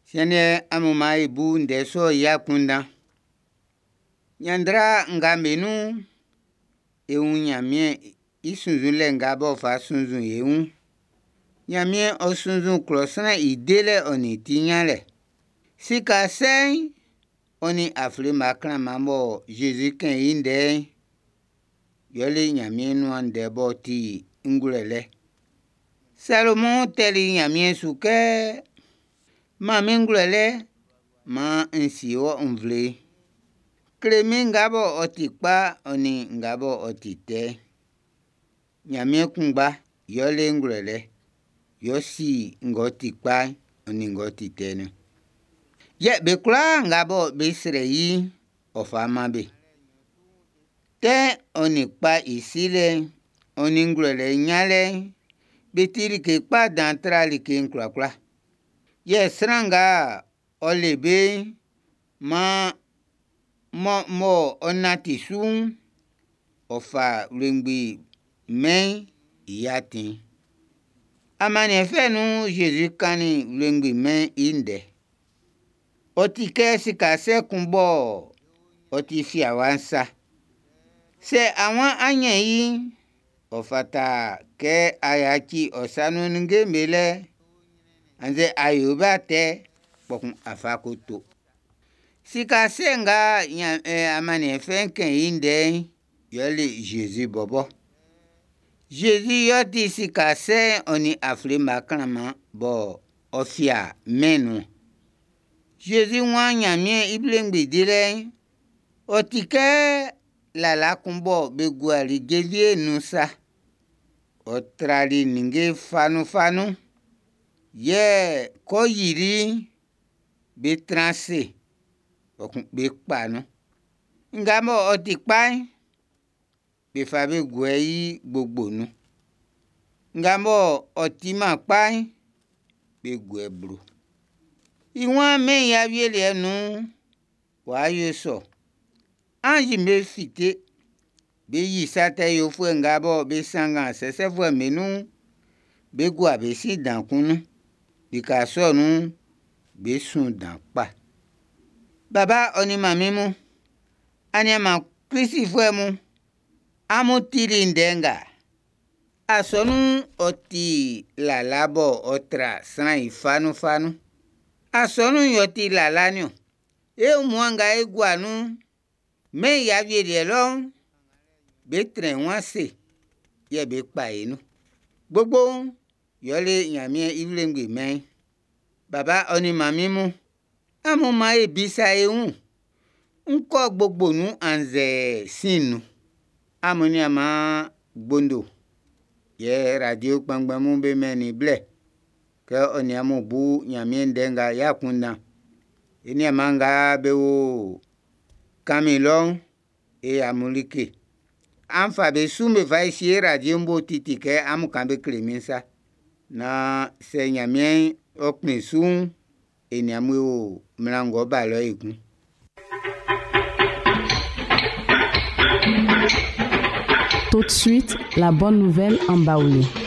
Siɛn'n amun maan e bu ndɛ sɔ'n i akunndan. Ɲanndra nga be nun'n, e wun Ɲanmiɛn i sunnzunlɛ nga b'ɔ fa sunnzun e wun. Ɲanmiɛn ɔ sunnzun klɔ sran i delɛ ɔ nin i ti ɲanlɛ. Sika sɛ'n ɔ nin aflunmun klanman mɔ Zezi kɛn i ndɛ'n, yɛle Ɲanmiɛn nuan ndɛ b'ɔ ti ngwlɛlɛ. Salomɔn tɛli Ɲanmiɛn su kɛ, ʼMan min ngwlɛlɛ maan n sie wɔ nvle'n. Kle min nga bɔ ɔ ti kpa ɔ nin nga bɔ ɔ ti tɛ'n. Ɲanmiɛn kunngba y'ɔ le ngwlɛlɛ, y'ɔ si ng'ɔ ti kpa'n ɔ nin ng'ɔ ti tɛ'n niɔn. Yɛ be kwlaa nga bɔ be srɛ i'n, ɔ fa man be. Tɛ'n ɔ nin kpa i silɛ'n, ɔ nin ngwlɛlɛ ɲanlɛ'n, be ti like kpa dan tra like'n kwlakwla. Yɛ sran nga ɔ le be'n, maan m'ɔ nanti su'n, ɔ fa wlengbi mɛn'n i atin'n. Amaniɛn fɛ nun'n, Zezi kannin wlengbi mɛn'n i ndɛ. Ɔ ti kɛ sika sɛ kun bɔ ɔ ti fiawa'n sa. Sɛ a waan á ɲɛ́n i'n, ɔ fata kɛ a yaci ɔ sa nun ninnge'm be lɛ, annzɛ a yo be atɛ, kpɔkun a fa ko to. Sika sɛ nga amaniɛn fɛ'n kɛn i ndɛ'n, yɛle Zezi bɔbɔ. Zezi y'ɔ ti sika sɛ'n ɔ nin aflunmun klanman bɔ ɔ fia mɛn'n nun'n. Zezi waan Ɲanmiɛn i wlengbi dilɛ'n, ɔ ti kɛ lala kun bɔ be guali jenvie'n nun sa. Ɔ trali ninnge fanunfanun. Yɛ kɛ ɔ yili'n, be tran ase, kpɔkun be kpa nun. Nga mɔ ɔ ti kpa'n, be fa be guɛ i gbogbo nun. Nga mɔ ɔ timan kpa'n, be guɛ i blo. I waan mɛn'n i awieliɛ nun'n, w'a yo sɔ. Anzi'm be fite, be yi sa tɛ yofuɛ nga bɔ be sanngan sɛsɛfuɛ'm be nun'n, be gua be sin dan kun nun. Lika sɔ'n nun'n, be sun dan kpa. Baba ɔ nin manmin mun, aniaan Klistfuɛ mun, amun tili ndɛ nga? Asɔnun'n ɔ ti lala bɔ ɔ tra sran i fanunfanun. Asɔnun'n y'ɔ ti lala'n niɔn. E wunmuan nga e gua nun'n, mɛn'n i awieliɛ lɔ'n, be trɛn wun ase, yɛ be kpa e nun. Gbogbo'n, yɛle Ɲanmiɛn i wlengbi mɛn'n. Baba ɔ nin manmin mun, amun maan e bisa e wun. Ń kɔ́ gbogbo nun annzɛ sin nun? Amun nianman gbondo yɛ radio kpɛnngbɛn mun be mɛn i blɛ kɛ ɔ nin amun bu Ɲanmiɛn ndɛ nga i akunndan. E niaanman nga be wo Kami lɔ'n, e amun like. An fa be su be fa sie radio'n bo titi kɛ amun kan be kle min sa. Naan sɛ Ɲanmiɛn ɔ kplin su'n, e nin amun e wo mlan ng'ɔ ba lɔ ekun. Tout de suite, la bonne nouvelle en Baoulé.